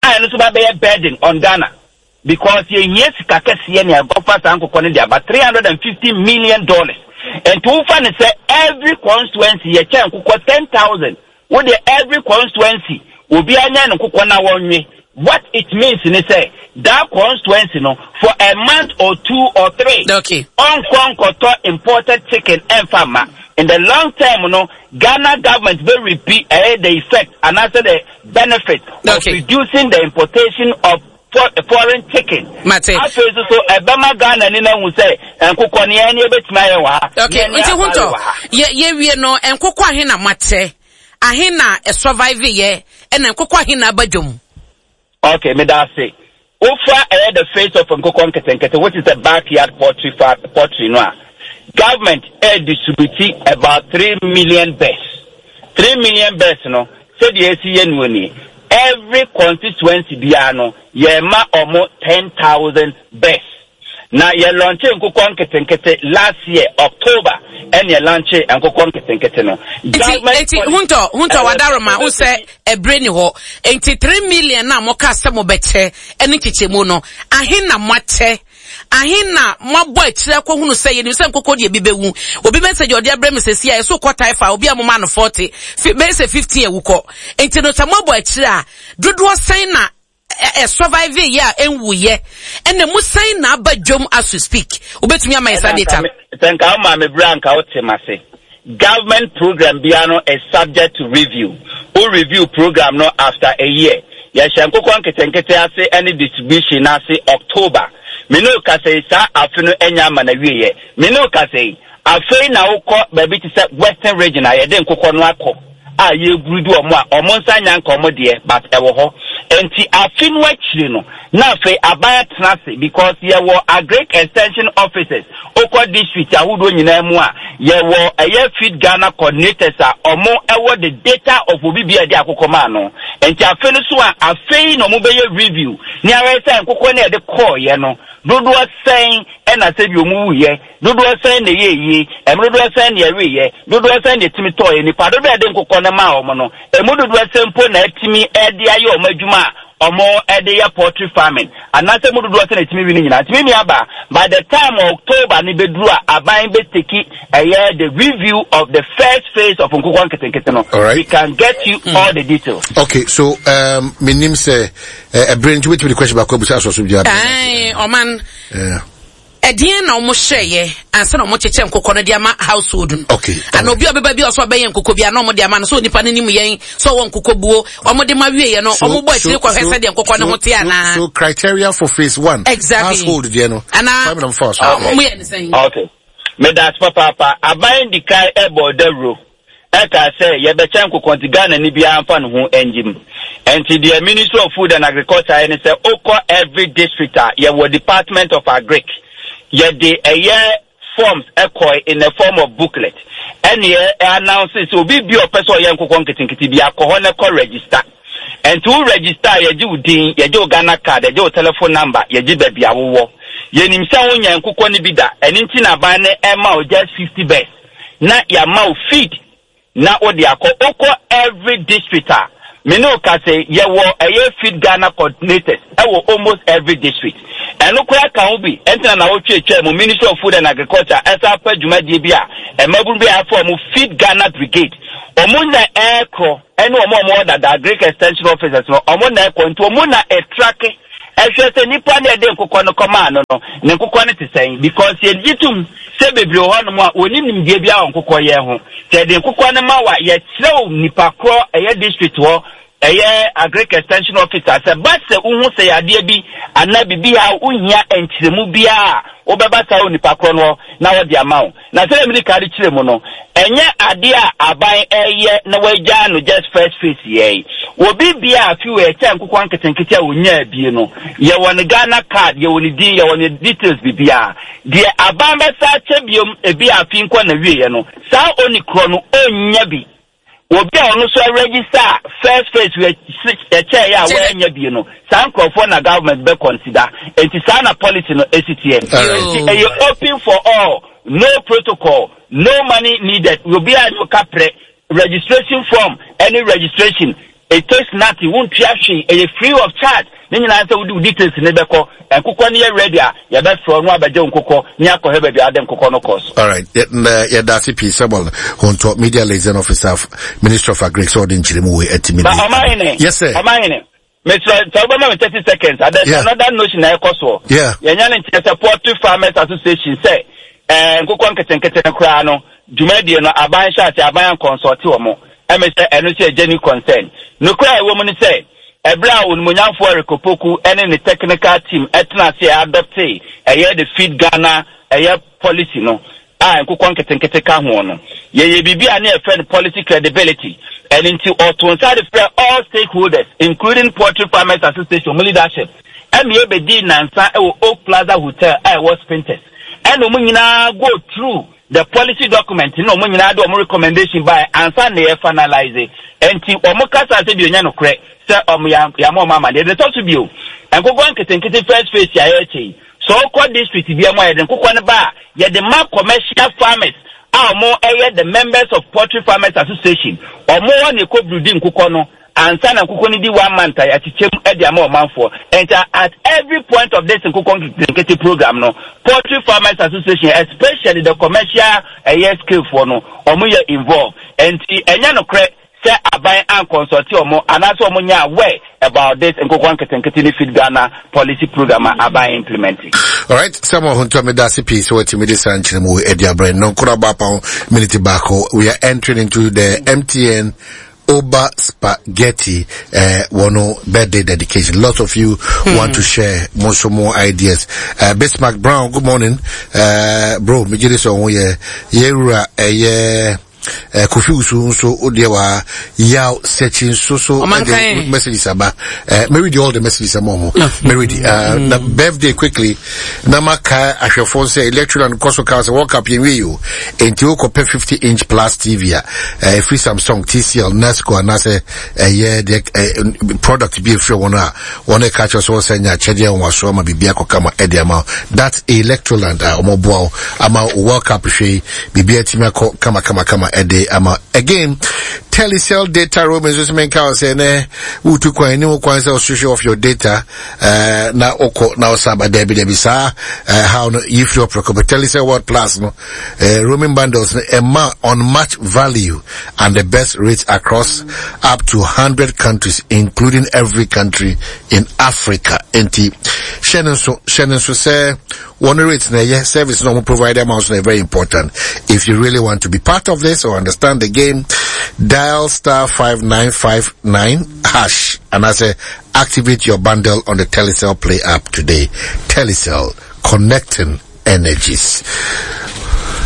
a, ɛno nso ba bɛyɛ burden on Ghana, because yɛhia sika kɛseɛ ne ɛkɔfa saa nkokɔ no de aba, three hundred and fifty million dollars. Nti wofa ne sɛ every constituency yɛkyɛ nkokɔ ten thousand, wode every constituency obiara nya ne nkokɔ na wɔnwe, what it means ne sɛ that constituency no, for a month or two or three, okay ɔnkɔ nkɔtɔ imported chicken ɛnfa ma. In the long term no, Ghana government bɛ reap ɛyɛ the effect anaasɛ the benefit of Okay. reducing the importation of for, foreign chicken. Mate. Afei nso so ɛbɛma Ghana ni na hu sɛ nkokɔ ne yɛn ne ebɛtumi ayɛ wɔ ha. Okay. Yɛn ne Nti afare Huntɔ, wɔ ha. yɛ yɛwie no, nkokɔ ahe na moatɛ, ahe na ɛsurvive yɛ, ɛna nkokɔ ahe na aba dwom? Okay, meda ase. Wofa ɛyɛ the face of nkokɔ nketenkete, which is the backyard poultry fa poultry no a, government ɛ distribute about three million birds. Three million birds no, sɛdeɛ esi yɛ no nie: every constituency biara no, yɛma ɔmo ten thousand birds. Na yɛ launch nkokɔ nketenkete last year October, ɛna yɛ launch nkokɔ nketenkete no. Nti nti Huntɔ, Huntɔ, wadaroma wo sɛ ɛbrɛ ni hɔ. Nti three million na moka sɛ mobɛkyɛ ɛne nkyekyɛmu no, ahe na moakyɛ, ahe na moabɔ akyirɛ akɔhunu sɛ yɛnim sɛ nkokɔ deɛ bi bɛwu? Obi message ɔde abrɛ me sɛsi a ɛso kɔ taifa, obi a moma no forty, fi bɛyɛ sɛ fifteen awu kɔ. Nti no, sɛ moabɔ akyirɛ a, dodoɔ sɛn na ɛ survive yɛ a ɛnwuyɛ, ɛna mu sɛn na aba dwom as we speak? Wobɛtumi ama yɛ saa data no? Sɛ nka wo maame berɛ a nka wote ma se government program biara no is subject to review. Wo review program no after a year. Yɛhyɛ nkokɔ nketenkete ase ne distribution no ase October. Me ne wo kasa yi, saa afe no anya ama na wieɛ. Me ne wo kasa yi, afei na wokɔ baabi te sɛ Western Region a, yɛde nkokɔ no akɔ a, yɛburu di ɔmo a ɔmo nsa nya nka ɔmo deɛ, but ɛwɔ hɔ. Nti afe no akyire no na afei aban atena ase, because yɛwɔ agric extension officers. Okɔ district ahodoɔ nyinaa mu a, yɛwɔ ɛyɛ Feed Ghana coordinators a ɔmo ɛwɔ the data of obi bi a yɛde akokɔ maa no. Nti afe no so a, afei na ɔmo bɛyɛ review ne ahwɛ sɛ nkokɔ no yɛde kɔɔyɛ no, dodoɔ sɛn ɛna sɛ bi ɔmo wuyɛ, dodoɔ sɛn na ɛyɛ yie, ɛmu dodoɔ sɛn na ɛweyɛ, dodoɔ sɛn na ɛtumi tɔɔyɛ, nipa dodoɔ a yɛde nkokɔ no maa ɔmo no, ɛmu dodoɔ sɛn mpo na ɛtumi ɛde ayɛ ɔmo adwuma a ɔmo ɛde yɛ poultry farming, anaasɛ mu dodoɔ sɛn na ɛtumi wi no nyinaa. Ntumi mi aba, by the time October ne bɛduru a, aban bɛtake ɛyɛ the review of the first phase of nkokɔ nketenkete no, All right. we can get you mm. all the details. Okay, so um, menim sɛ ɛberɛ nti wobɛtumi de question baako abusa asɔ so biara. Ɛn, ɔman, Yeah. ɛdeɛn na ɔmo hyɛeɛ ansa na ɔmo kyekyɛ nkokɔ no de ama household no? Okay. Ana obi a ɔbɛba bi a ɔsɛ ɔbɛyɛ nkokɔ bi a, na ɔmo de ama no sɛ onipa no nim yɛn sɛ ɔwɔ nkokɔ buo, ɔmo de ma wieɛ no, ɔmo bɔ akyire kɔhwɛ sɛdeɛ nkokɔ no ho te anaa? So, so criteria for phase one. Exactly. Household deɛ no. Anaa Five number four. So. ɔmo yɛ ne sɛn? Okay, medase papaapa. Aban di kan ɛbɔ dawuro ɛka sɛ yɛbɛkyɛ nkokɔ, nti Ghana ni biara mfa ne ho ngyim. Nti deɛ Ministry of Food and Agriculture yɛ ne sɛ okɔ every district a, yɛwɔ Department of Agric, yɛde ɛyɛ forms ɛkɔ in the form of booklet, ɛne ɛ announce sɛ obi bi a ɔpɛ sɛ ɔyɛ nkokɔ nketenkete bi akɔ hɔ na ɛkɔ register. Nti wo register a, yɛgye wo din, yɛgye wo Ghana Card, yɛgye wo telephone number, yɛgye baabi a wowɔ. Yɛnim sɛ wonya nkokɔ no bi da, ɛno nti na aban no ɛma wo just fifty birds na yɛama wo feed na wode akɔ. Wokɔ every district a, Me ne wo ka sɛ yɛwɔ ɛyɛ Feed Ghana coordinators ɛwɔ almost every district. Ɛno koraa ka ho bi ɛntina na wotwe atwa mu Ministry of Food and Agriculture ɛsa apɛ dwumadie bi a mmabunu bi a afɔ ɔmo Feed Ghana Brigade. Ɔmo na ɛɛkorɔ ɛne ɔmo a ɔmo wɔ dada Agric Extension Officers no, ɔmo na ɛkɔ, nti ɔmo na ɛtrack ɛhwɛ sɛ nipa ne ɛde nkokɔ no kɔmaa no no ne nkokɔ no te sɛn, because yɛgye tom sɛ bebree wɔ hɔnom a wɔni nimdeɛ bi a wɔ nkokɔ yɛn ho. Sɛ yɛde nkokɔ no ma wa, yɛkyerɛw nipa korɔ ɛyɛ district hɔ ɛyɛ Agric Extension Officer sɛ ba sɛ wohu sɛ yadeɛ bi anaa biribi a wohia nkyerɛmu biara a, wobɛba saa wɔ nipa korɔ no hɔ na wɔde ama wo. Na sɛdeɛ mede ka de kyerɛ mu no, ɛnyɛ adeɛ a aban ɛyɛ na wɔagya no just first phase yɛn obi bia afi wɔ ɛkyɛ nkokɔ nketenkete a wɔnyaa bie no, yɛwɔ ne Ghana Card, yɛwɔ ne din, yɛwɔ ne details, biribiara. Deɛ aban bɛsa akyɛ biom ebi afi nkɔ na wieɛ no, saa oni korɔ no ɔnnya bi. Obi a ɔno nso register first phase ɛkyɛ yɛ a wɔanya bie no, saa nkurɔfoɔ na government bɛ consider. Nti saa na policy no esi teɛ. Nti ɛyɛ open for all, no protocol, no money needed. Obi a no kaprɛ registration form, any registration, it takes nothing, wontua hwee, ɛyɛ free of charge. Ne nyinaa sɛ wode wo details ne bɛkɔ, nkokɔ no yɛ ready a, yɛbɛfrɛ no abɛgye wo nkokɔ ne akɔhwɛ baabi a wode nkokɔ no kɔ so. All right. Yɛda ase pii, Samuel Honto, Media Liaison Officer of Ministry of Agric, sɛ ɔde nkyerɛmu wei atumi. Ba ɔmahene. Yes sir. Ɔmahene, mesrɛ sɛ wobɛma me thirty seconds. uh, there's Yeah. another notion na ɛkɔ soɔ. Yeah. Yɛnya ne nkyerɛ sɛ Poultry Farmers Association sɛ ɛɛ nkokɔ nketenkete no koraa no dwumadie no, aban hyɛ ase, aban anconsult wɔ mo. Ɛmɛ sɛ ɛno sɛ genuine concern. Nokora a ɛwɔ mu ne sɛ ɛberɛ a onimonyamfoɔ Eric Opoku ɛne ne technical team ɛtena ase a adopt ɛyɛ the Feed Ghana ɛyɛ policy no a nkokɔ nketenkete ka ho no, yɛyɛ biribi a ne yɛfrɛ no policy credibility. Ɛno nti ɔto nsa de frɛ all stakeholders, including Poultry Farmers Association mu leadership, ɛma yɛbɛdi nansa ɛwɔ Oak Plaza Hotel a ɛwɔ Spintex, ɛna ɔmo nyinaa go through the policy document na ɔmo nyinaa de ɔmo recommendation by ansa na yɛ finalize. Nti ɔmo kasa sɛ bi onya nokorɛ sɛ ɔmo yamma ɔmo ama deɛ de tɔ so bio. Nkokɔ nketenkete first phase a yɛrekyɛ yi, sɛ ɔkɔ district bi mu a, yɛde nkokɔ no ba a, yɛde ma commercial farmers a ɔmo ɛyɛ the members of Poultry Farmers Association. Ɔmo wɔ ne kɔ breed nkokɔ no ansa na nkokɔ no di one month a, yɛakyekyɛ mu de ama ɔmanfoɔ. Nti at every point of this nkokɔ nketenkete program no, Poultry Farmers Association, especially the commercial ɛyɛ scale foɔ no, ɔmo yɛ involved. Nti ɛnyɛ nokorɛ sɛ aban anconsult ɔmo anaasɛ ɔmo nyɛ aware about this nkokɔ nketenkete ne Feed Ghana policy program a aban implementing. All right, Samuel Honto, meda ase pii sɛ watumi de saa nkyerɛmu wei adi abrɛ no. Nkora baapa ho minute baako. We are entering into the M T N Oba Spaghetti uh, one birthday dedication. Lots of you hmm. want to share more, some more ideas. Uh, Bismarck Brown, good morning. Uh, bro, me gye so yeah, yeah, yeah, uh, Kofi Usu nso odeɛ wa yaw sɛkyi nso so ɛde messages aba. uh, Mary di all the messages ama ɔmo. Mary di uh, na birthday quickly na ma ka ahwɛfoɔ sɛ electoral nkɔ so ka sɛ World Cup yɛn wie o, nti wokɔpɛ fifty inch plus T V a ɛfiri Samsung, T C L, Nasco anaasɛ ɛyɛ deɛ product bi efiri wɔn a wɔn ɛka kyerɛ sɛ wɔsɛ nya akyɛdeɛ wɔn aso ama biribi akɔ kama ɛde ama. That Electroland a wɔn boa wo ama World Cup hwɛ yi, biribi atumi akɔ kama kama kama ɛde ama. Again, Telecel data roaming nso sɛ menka wo sɛ nɛ wotu kwan ne wo kwan sɛ ɔswitch off your data uh, na wokɔ na wosa ba. Dabi dabi, saa uh, how no yifiri ɔprɛkɔ but Telecel World Plus no uh, roaming bundles no ɛma unmatched value and the best rates across up to one hundred countries, including every country in Africa. Enti hyɛ no nso, hyɛ no nso sɛ one rates na ɛyɛ service na ɔmo provide amounts na very important. If you really want to be part of this or understand the game, dial star five nine five nine hash and I say activate your bundle on the Telecel Play app today. Telecel, connecting energies.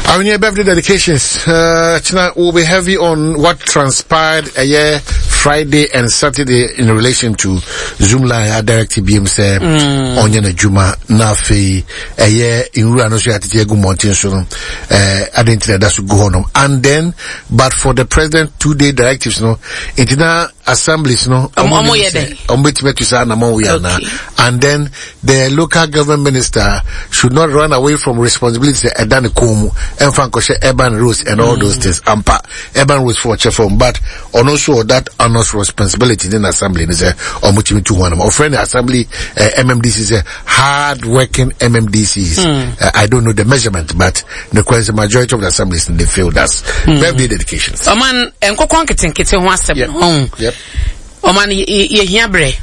Our new birthday dedications uh, tonight will be heavy on what transpired a year Friday and Saturday in relation to Zoomlion a directive B M sɛ ɔnyɛ n'adwuma, na afei ɛyɛ nwura no so yɛatete agu mmɔnten so no, ɛɛ ade nti na ɛda so gu hɔ nom, and then but for the president two day directives no, nti na assemblies no ɔmo yɛ dɛ ɔmo betumi atu saa anamɔ wei ana, and then the local government minister should not run away from responsibility ɛda ne kɔn mu ɛnfa nkɔhyɛ urban roads and all mm. those things. Ampa, urban roads for ɔkyɛ fam, but ɔno nso that honors responsibility ne assembly ne sɛ ɔmo tumi tu ho anam. Ɔfrɛ ne assembly uh, M M D C sɛ hard working M M D Cs. mm. uh, I don't know the measurement, but the question, majority of the assemblies, they failed us. mm. Birthday dedications. Ɔman, nkokɔ nketenkete ho asɛm ho, ɔman, yɛhia berɛ.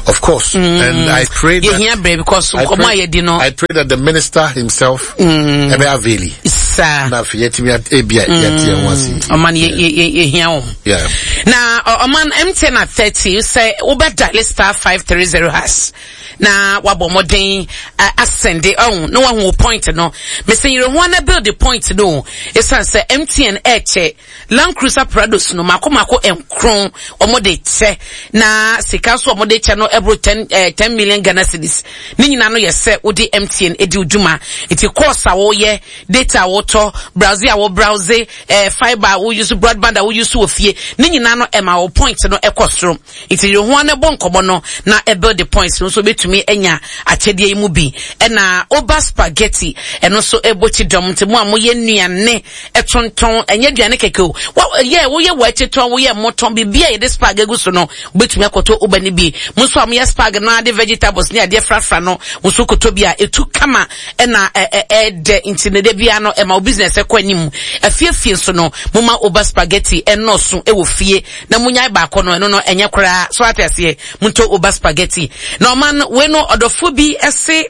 Of course, mm. and I pray that yɛhia berɛ because nkɔmɔ a yɛdi no I pray that the minister himself mm. ɛbɛ avail. Saa. Na afei yɛtumi ebia yɛte yɛn ho ase. Ɔman, yɛhia wɔn. Yeah. Na ɔman, M T N at thirty sɛ wobɛ dial star five three zero hash na wabɔ mmɔden asɛnde ɔho na wahu wo point no. Mesi yere ho ana build the point no, ɛsiane sɛ M T N ɛɛkyɛ Land Cruiser Prados no mako mako nkron. Wɔn de kyɛ na sika nso wɔn de kyɛ no ɛboro ten ɛɛ ten million Ghana cedis. Ne nyinaa no yɛ sɛ wode M T N edi dwuma, nti course a wɔyɛ, data a wɔtɔ, browse a wɔ browse, ɛɛ fibre a wɔyi so, broadband a wɔyi so wɔ fie, ne nyinaa no ɛma wɔ point no ɛkɔ soro. Nti yere ho ana bɔ nkɔmɔ no na ɛbuild the points no nso bɛtumi anya akyɛdeɛ yi mu bi. Ɛna Oba Spaghetti, ɛno nso ɛbɔ kyi dɔm, nti mo a moyɛ nnuane ɛtontɔn, ɛnyɛ aduane kɛkɛ o, wa yɛ woyɛ wɔ akyi tɔn, woyɛ mmɔtɔn, biribi a yɛde spag egu so no, wobɛtumi akɔtɔ Oba no bi. Mo nso a moyɛ spag no ade, vegetables ne adeɛ frafra no, mo nso kɔtɔ bi a ɛtu kama ɛna ɛɛdɛ. Nti ne de bia no ɛma wo business ɛkɔ anim. Afiefie nso no, moma Oba Spaghetti ɛnɔɔso ɛwɔ fie na munyae baako no, ɛno no ɛnyɛ koraa so ate aseɛ. Montɔ Oba Spaghetti. Na ɔman wei no, ɔdɔfoɔ bi ɛse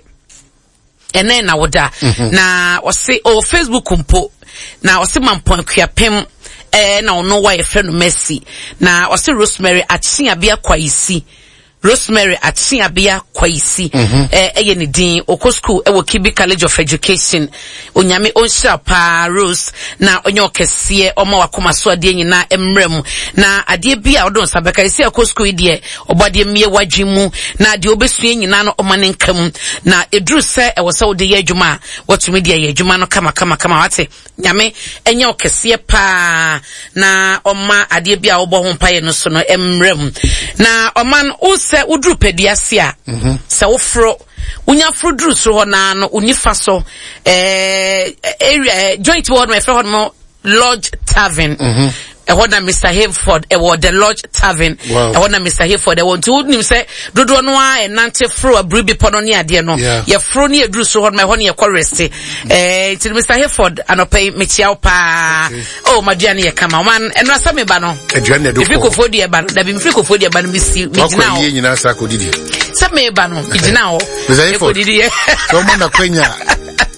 ɛnɛ na woda mhm. na ɔse ɔwɔ Facebook mpo na ɔse Mampɔn Akuapem ɛɛ na ɔno wa yɛfrɛ no Mercy, na ɔse Rosemary Akyeabea Kwaisi, Rosemary Akyeabea Kwaisi mhm. ɛyɛ ne din. Ɔkɔ school ɛwɔ Kibi College of Education. Onyame ɔnhyira paa, Rose, na ɔnyɛ ɔkɛseɛ, ɔma wakoma so adeɛ nyinaa mmerɛ mu na adeɛ bi a ɔde nsa bɛka ɛsi akɔ school yi deɛ, ɔbɔ adeɛ mmie wadwen mu na deɛ ɔbɛsua nyinaa no ɔma ne nka mu, na ɛduru sɛ ɛwɔ sɛ wode yɛ adwuma a, watumi de ayɛ adwuma no kama kama kama. Wate? Nyame ɛnyɛ ɔkɛseɛ paa na ɔma adeɛ bi a wɔbɔ ho mpaeɛ no so no mmerɛ mu. Na ɔma no wo sɛ woduru pɛduase a, mhm. sɛ woforo, wonya foro duru soro hɔ naa no, wo nifa so ɛɛ area joint wɔ hɔ no, ɛfrɛ hɔ no Lodge Tavern. mm -hmm. Ɛhɔ na Mister Hayford ɛwɔ, the Lodge Tavern. Ɛhɔ na Mister Hayford ɛwɔ. Nti wonim sɛ dodoɔ no a ɛnante foro abiri bepɔ no ne adeɛ no, yɛforo ne yɛduru soro hɔ no, ɛhɔ ne yɛkɔ rest. ɛɛ nti Mister Hayford, anɔpɛ yi mekyia wo paa. Oh, maduane yɛ kama. Ɔman, ɛno asɛ meba no, aduane ɛdo mefiri Kofoɔ deɛ ba no, dabi, mefiri Kofoɔ deɛ ba no, mesi megyina hɔ. Wakɔ nyinaa saa kɔdidi? Sɛ meba no, megyina hɔ. Mister Hayford, ɛkɔdidi yɛ. Sɛ ɔma nakwanya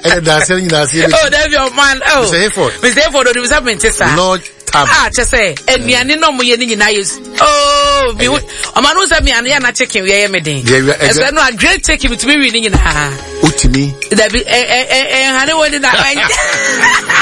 ɛyɛ daasɛ no nyinaa seɛ. Oh, dabi, ɔman, oh. Mister Hayford. Mister Hayford onim sɛ mente saa. Lodge Tavern. Ah, kyɛ sɛ anuane na ɔmo yɛ ne nyinaa yɛ, oh, mi hu ɔmo ano sɛ mi ano yɛ na chicken yɛ yɛ mi den. Ɛsɛ no a great chicken mi tumi wi ne nyinaa. Wotumi? Dabi, ɛ ɛ ɛ ɛhane wo ni na.